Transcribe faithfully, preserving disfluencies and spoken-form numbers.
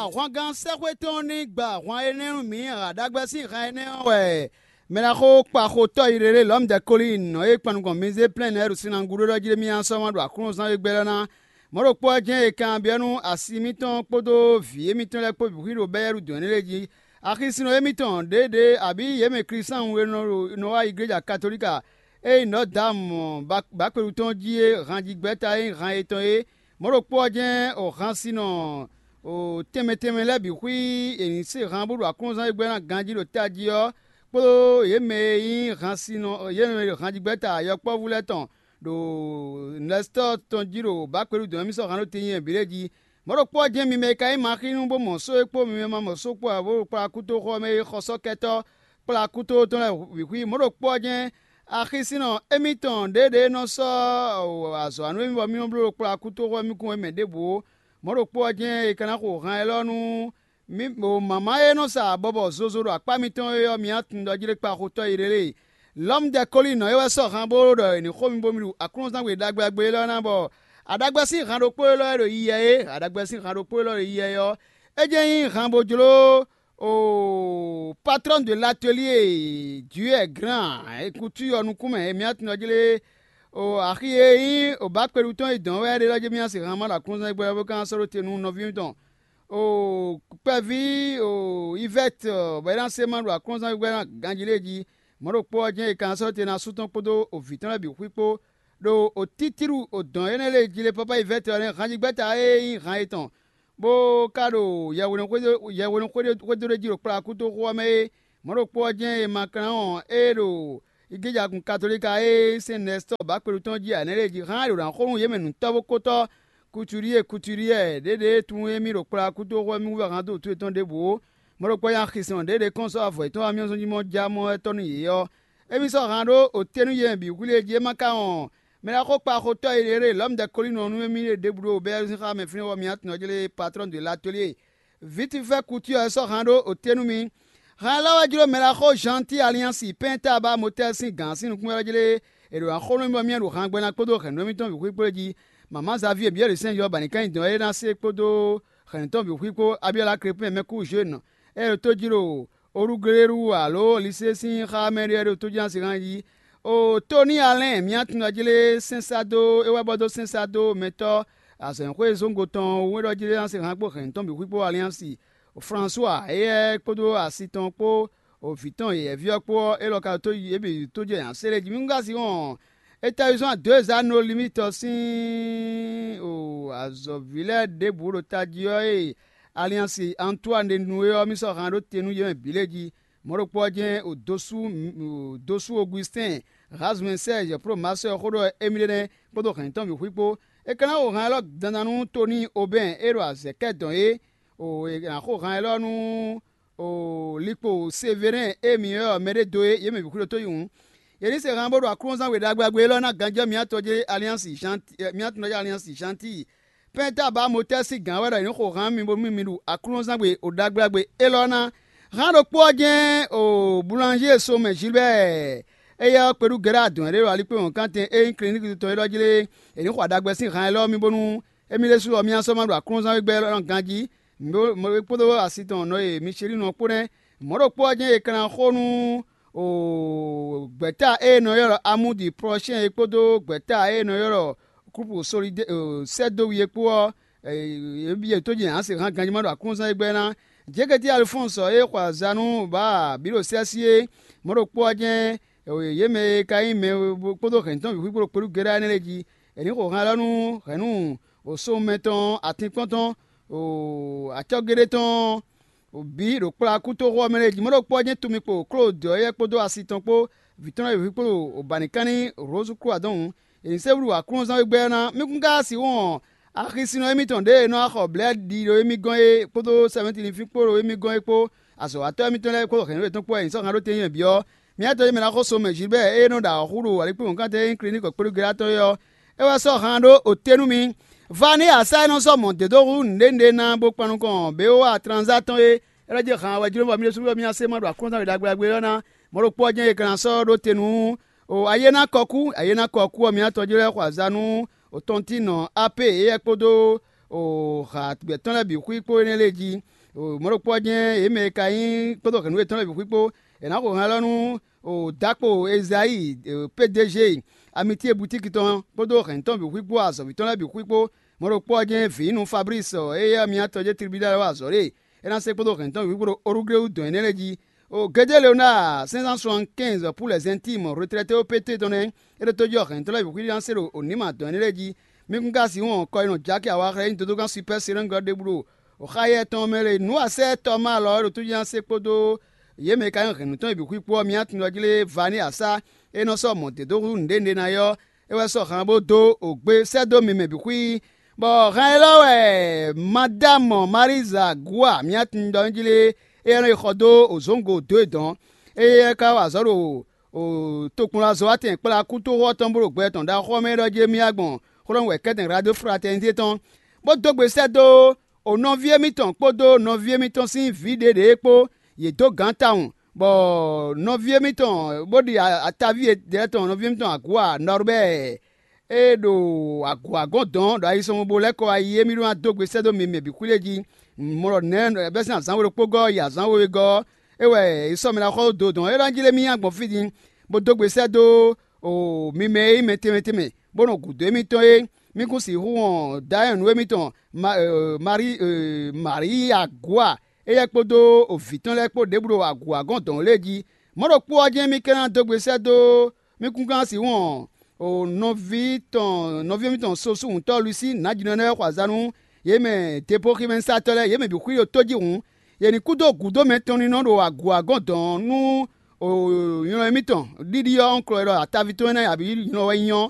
Ahwangán sɛ́xwé tɔn ní gba ahwan énɛ́ nú mǐ ǎ. Ɖagbɛ sín han énɛ́ ɔ́ wɛ mɛɖaxó kpaxotɔ́ Irelée Lɔ̌mudɛkolín nɔ e kpan nukɔn Mizée-plɛ́n lɛ́ɛ ɖo sin ná gúdo ɖɔ jí ɖé mì nyaá sɔ́ ma ɖo Aklúnɔzán e gbɛ́ lɛ́ɛ ná. Mɔ̌ ɖokpó ɔ́ jɛ́n è kanbyɔ́ nú asi mǐtɔn kpódó vǐ émítɔn lɛ́ɛ kpó bǐ xwíɖo bɛ́ ɖu dɔ̌n énɛ́ lɛ́ɛ jí. Axisínɔ émítɔn ɖěɖě abǐ yě mɛ Klísáwun e nɔ ɖo nɔ wá igléja katolíka e nyí Nɔ̌ Dǎmu Bakpelu tɔn jí é hanjigbɛ́ta e nyí han yětɔn é. Mɔ̌ ɖokpó ɔ́ jɛ́n o hansinɔ tɛnmɛ tɛnmɛ lɛ́ɛ bǐ xwí è nǐ se han bó ɖo aklúnɔzán e gbɛ́ ná ganjí ɖo tají ɔ́, kpódó yě mɛ e nyí hansinɔ yě mɛ e ɖo hanjigbɛ́ta yɔkpɔ́vú lɛ́ɛ tɔn ɖo Nɛstɔ́ɔ tɔn jí ɖo Bakpelu dɔ̌n émí sɔ́ han ɖó tɛnnyɛ bǐ lɛ́ɛ jí. Mɔ̌ ɖokpó ɔ́ jɛ́n mi mɛ e ka nyí maxínú bó mɔ só é kpó mi mɛ ma mɔ só kpó ǎ bó ɖo kplá kútóxɔ ɔ́ mɛ é xɔsɔ́kɛ́tɔ́ kplá kútóxɔ tɔn lɛ́ɛ bǐ xwí. Mɔ̌ ɖokpó ɔ́ jɛ́n axisínɔ émítɔn ɖěɖě nɔ sɔ́ azɔ̌ wa nú émí bɔ mì nɔ bló ɖo kplá kútóxɔ mì kún wɛ mɛ ɖěbǔ ó. Mɔ̌ ɖokpó ɔ́ jɛ́n è ka ná xo han élɔ́ nú mǐ ɖo mǎmá e nɔ sa bɔbɔ zozo ɖo akpá mitɔn é ɔ́, mi tunwun ɖɔ jí ɖé kpa xotɔ́ Irelée. Lɔ̌mudɛkolínɔ é wɛ sɔ́ han bó ɖɔ è nǐ xo mi bónú mi ɖu aklúnɔzán gbe ɖagbe ɖagbe élɔ́ ná bɔ aɖagbɛ sín han ɖokpó élɔ́ e ɖo yiyɛ é, aɖagbɛ sín han ɖokpó élɔ́ e ɖo yiyɛ é ɔ́, é jɛ́n nyí han bó jló o patron de l'atelier Dieu grand ékutú ɔ́ nukún mɛ, mi tunwun ɖɔ jí lé o axi e nyí o bǎkpéɖu tɔn e dɔn wɛ é ɖe lɔ jí mi se han ma ɖo aklúnɔzán gbɛ bó ka sɔ́ ɖó te nú nɔví mitɔn o kpɛví o Ivɛ́t bɔ é ná se ma ɖo aklúnɔzán gbɛ ná ganjí lé jí. Mɔ̌ ɖokpó ɔ́ jɛ́n è ka sɔ́ te ná sú tɔn kpódó o vǐ tɔn lɛ́ɛ bǐ xwí kpó ɖo o títíɖu o dɔ̌n énɛ́ lě jí lé pápá Ivɛ́t ɔ́ nɛ́ hanjigbɛ́ta e nyí han yětɔn bó ka ɖo yɛhweɖéxwédó ɖé jí ɖo kplá kútóxó ɔ́ mɛ é. Mɔ̌ ɖokpó ɔ́ jɛ́n è ma klán ɔ́ é ɖo igéjagun katolíka e sɛ́n Nɛstɔ́ɔ bǎkpéɖu tɔn jí ǎ nɛ́ lě jí hán è ɖo ná xo nú yě mɛ nǔtɔ́ bó kótɔ́ Kutuɖíe Kutuɖíɛ ɖěɖě tunwun émí ɖo kplá kútóxó ɔ́ mì wú wɛ hán dó wǔtu yětɔn ɖěbǔ ó. Mɔ̌ ɖokpó nya xisɔn ɖěɖě kɔn sɔ́ avɔ yětɔn amyɔ́zɔn jí mɔ já mɔ wɛ tɔ́ nú yě ɔ́, émí sɔ́ han ɖó otɛ́nú yě mɛ bǐ xwlé jí é ma ka wɔn mɛ ɖaxó kpaxotɔ́ e ɖe Lɔ̌mudɛkolínɔ nú émí ɖe ɖěbǔ ɖo Bɛɛlízínxá mɛ fínɛ́ ɔ́, mi tunwun ɔ́ jlé patron de l'atelier Vitifɛ́ Kutu ɔ́ sɔ́ han ɖó otɛ́ nú mì. Han élɔ́ wɛ jló mɛ ɖaxó Janti Aliansi Pɛ́ntába Motɛ́ sín gǎn sín nukún wɛ jlé è ɖo ná xo nú mì bɔ mì ɖo han gbɛ́ ná kpódó hɛ̌nnu émítɔn bǐ xwí kpó é jí. Mama Zavíe Biɛ́li sɛ́n Yɔ ba ní ká nyi dɔn é ná se kpódó hɛ̌nnu tɔn bǐ xwí kpó Abiyɔ́la Krepɛ́n mɛkú Zhwenu e ɖo tó jí ɖo Oluglélu alo Lisée sín xá mɛ ɖé wɛ ɖo tójínasi han jí. O Tóni Alɛ́n, mǐ tunwun ɖɔ jí lé sɛ́n sá dó é wɛ bɔ dó sɛ́n sá dó mɛtɔ́ azɔ̌xwé zóngo tɔn wú é ɖɔ jí lé ná se han kpó hɛ̌nnu tɔn bǐ xwí kpó Aliansi. Fransua éyɛ́ kpódó asi tɔn kpó vǐ tɔn yɛ̌yɛ́ví ɔ́ kpó ɔ́, élɔ́ ka ɖo tó yě bǐ tó jɛ nyaséle jí. Mí ká si wɔn étawízɔ́n dó e zá no limitɔ sín azɔ̌ví lɛ́ɛ ɖěbǔ ɖo tají ɔ́ e Aliansi Antoine ɖe nu é ɔ́, mì sɔ́ han ɖó te nú yě mɛ bǐ lɛ́ɛ jí. Mɔ̌ ɖokpó ɔ́ jɛ́n o dosú dosú Ogustɛ́n Hazumɛ Sɛ́ɛzɛ Plomasɔ́ xó ɖɔ émí ɖé nɛ́ kpódó hɛ̌nnu tɔn bǐ xwí kpó. É ka ná xo han élɔ́ dandan nú Toníi Obɛ́n e ɖo azɛ̌ kɛ dɔn é. O è nǎ xo han élɔ́ nú o likpo Severɛ́n e mǐ ylɔ́ ɔ́ mɛɖé dó é, yě mɛ bǐ xwí ɖo tó yi hǔn. Yě ní se han bó ɖo aklúnɔzán we ɖagbe ɖagbe élɔ́ ná ganjɔ́ mǐ atɔn jí Aliansi Janti mǐ atɔn jí Aliansi Janti. Pɛ́ntába Motɛ́ sín gǎn wɛ ɖɔ è nǐ xo han mì bónú mì ɖu aklúnɔzán gbe o ɖagbe ɖagbe élɔ́ ná. Han ɖokpó ɔ́ jɛ́n o Bulanjée Somɛ Zilbɛ́ɛ éyɛ́ ɔ́ kpeɖú Gɛ́ra dɔ̌n ɖé ɖo alikpéwɔnkántɛn e nyí Kliníki tɔn é ɖɔ jí lé. È nǐ xo aɖagbɛ sín han élɔ́ mì bónú émí ɖésú ɔ́ mì ná sɔ́ ma ɖo aklúnɔzán we gbɛ élɔ́ ná ganjí. Mǐ kpódó asi tɔn nɔ e Michelínu ɔ́ kpó nɛ́. Mɔ̌ ɖokpó ɔ́ jɛ́n è ka ná xo nú o gbɛ̌ta e è nɔ ylɔ́ ɖɔ Amúdi Plɔshɛ́n é kpódó gbɛ̌ta e è nɔ ylɔ́ ɖɔ Klúpu Solidé sɛ́ dó wi é kpó ɔ́, yě tó jɛ ǎ se hán ganjí ma ɖo aklúnɔzán e gbɛ́ ná. Jeketi Alifɔ́nsɔ e xɔ azǎn nú Baa bǐ ɖo Sɛ́sí é, mɔ̌ ɖokpó ɔ́ jɛ́n yě mɛ e ka nyí mɛ kpódó hɛ̌ntɔn bǐ xwíxwó ɖo kpéɖú géɖá énɛ́ lɛ́ɛ jí. È nǐ xo han élɔ́ nú hɛ̌nnu wǒsómɛ tɔn, atinkpɔ́n tɔn, acɔ́géɖé tɔn bǐ ɖo kplá kútóxó ɔ́ mɛ lɛ́ɛ jí. Mɔ̌ ɖokpó ɔ́ jɛ́n tunmi kpo Klódɔ éyɛ́ kpódó asi tɔn kpó, vǐ tɔn lɛ́ɛ bǐ kpó ɖo bǎnikánní Rose Croix dɔn hǔn. È nǐ se wú ɖo aklúnɔzán wegbe ɔ́ ná. Mí kún ka wá sixú wɔn axisínɔ émítɔn ɖěe nɔ wá xɔ blɛ̌ɖi ɖo émí gɔ́n é kpódó sɛmɛ́tilinfín kpó ɖo émí gɔ́n é kpó, azɔ̌watɔ́ émítɔn lɛ́ɛ kpódó hɛ̌nnu yětɔn kpó wɛ è nǐ sɔ́ han ɖó tɛ́ntin mɛ bǐ ɔ́. Mǐ ná tɔ́ mɛ ná xo so mɛ Gilbɛ́ɛ e nɔ ɖo awɔ̌ hu ɖo wǎlíkpéwɔnkántɛn e nyí Kliníki kpéɖúgéɖátɔ́ é ɔ́, é wɛ sɔ́ han ɖó oté nú mi. Vani asa e nɔ sɔ́ mɔ̌ dó dó hú nǔɖé nǔɖé ná bó kpan nukɔn běwá atlanzá tɔn é, é lɛ́ jɛ han wɛ jló bɔ mì ɖésú bɔ mì ná se ma ɖo aklúnɔzán we ɖagbe ɖagbe élɔ́ ná. Mɔ̌ ɖokpó ɔ́ jɛ́n è ka ná sɔ́ ɖó te nú o ayé ná kɔ kú, ayé ná kɔ kú ɔ́, mǐ ná tɔjú lɛ́ɛ xɔ azǎn nú o tɔntínnɔ Apée éyɛ́ kpódó o hǎgbɛ́ tɔn lɛ́ɛ bǐ xwí kpó énɛ́ lɛ́ɛ jí. Mɔ̌ ɖokpó ɔ́ jɛ́n yě mɛ e ka nyí kpódó hɛ̌nnu yětɔn lɛ́ɛ bǐ xwí kpó, è nǎ xo hɛn alɔ nú Dakpo Ezayi, P D G Amitié butíki tɔn kpódó hɛ̌nnu tɔn bǐ xwí kpó, azɔ̌ví tɔn lɛ́ɛ bǐ xwí kpó. Mɔ̌ ɖokpó ɔ́ jɛ́n vǐ nú Fablísi, éyɛ́ ɔ́, myátɔn jɛ́n tribúnáli wá azɔ̌ ɖe. É ná se kpódó hɛ̌nnu tɔn bǐ xwí kpódó Orugléwu dɔn énɛ́ lɛ́ɛ jí. O Gédé Leonáa, cinq cent soixante-quinze pour les intimes retraités au P T tɔn nɛ́, é ɖo tójí ɔ́ hɛ̌nnu tɔn lɛ́ɛ bǐ xwí ná se ɖo onǐma dɔn énɛ́ lɛ́ɛ jí. Mí kún ka sixú hɔn kɔ e nɔ Jaki awaxlɛ́ nyí dodógán Supɛ́ Selɛ́ngi ɔ́ ɖěbǔ ɖo xáyɛ tɔn mɛ lé. Nǔ asɛ́ tɔ́ má lɔ é ɖo tójí ná se kpódó yě mɛ e ka nyí hɛ̌nnu tɔn e bǐ xwí kpó ɔ́, mì nyi atundɔ jí lé Vaníasa e nɔ sɔ́ mɔ̌ dě dó hú nǔɖé nɖé ná é ɔ́, é wɛ sɔ́ han bó dó ògbé sɛ́ dó mi mɛ bǐ xwí. Bɔ han élɔ́ wɛ Madámɔ Maríza Gúa mì nyi atundɔ jí lé, éyɛ́ nɔ yi xɔ dó òzǒngo dó e dɔn. Éyɛ́ ka wa azɔ̌ ɖo tokpɔnlazɔ́watɛn kplá kútoxo ɔ́ tɔn bó ɖo gbɛ tɔn ɖaxó ɔ́ mɛ ɖɔ jí émí wá gbɔn xlɔ́ wɛ kɛ́tɛn Radó Fratɛnité tɔn, bó dó gbe sɛ́ dó o nɔví émítɔn kpódó nɔví émítɔn sín vǐ ɖěɖě kpó, yě dó gǎn tawun, bɔ nɔví émítɔn bó ɖi ataví lɛ́ɛ tɔn nɔví émítɔn Agǔa Nɔrbɛ́ɛ e ɖo agǔagɔ́n dɔn ɖo ayisɔnmɔbó lɛ́ɛ kɔ wá yi émí ɖó ná dó gbe sɛ́ dó mi mɛ bǐ xwílé jí. Mɔ ɖɔ nɛ̌ bɛ́ sín azǎn we ɖokpó gɔ́ yi azǎn we gɔ́ ɔ́, é wɛ è sɔ́ mɛ ná xɔ dó dɔn é ɖɔ jí lé mì nyi gbɔn fí din, bó dó gbe sɛ́ dó mi mɛ e nyí mɛ tɛnmɛ tɛnmɛ, bó nɔ gǔdo émítɔn é. Mì kún sixú wɔn dayɔ́n nǔ émítɔn Maríi Agua, éyɛ́ kpódó vǐ tɔn lɛ́ɛ kpó ɖěbǔ ɖo agǔagɔ́n dɔn lě jí. Mɔ̌ ɖokpó ɔ́ jɛ́n mì ka ná dó gbe sɛ́ dó mì kún gán sixú wɔn nɔví tɔn nɔví émítɔn sosúhùntɔ́ Lusi nǎjínɔ lɛ́ɛ xɔ azǎn nú yě mɛ depoximɛsatɔ́ lɛ́ɛ, yě mɛ bǐ xwí ɖo tó jí hǔn, yě ní kú dó gǔdo mɛ tɔn ní nɔ ɖo agǔagɔ́n dɔn nú nylɔ émítɔn ɖiɖi ɔ́, un klɔ ɖɔ ataví tɔn énɛ́ abǐ nylɔ wɛ nyí ɔ́,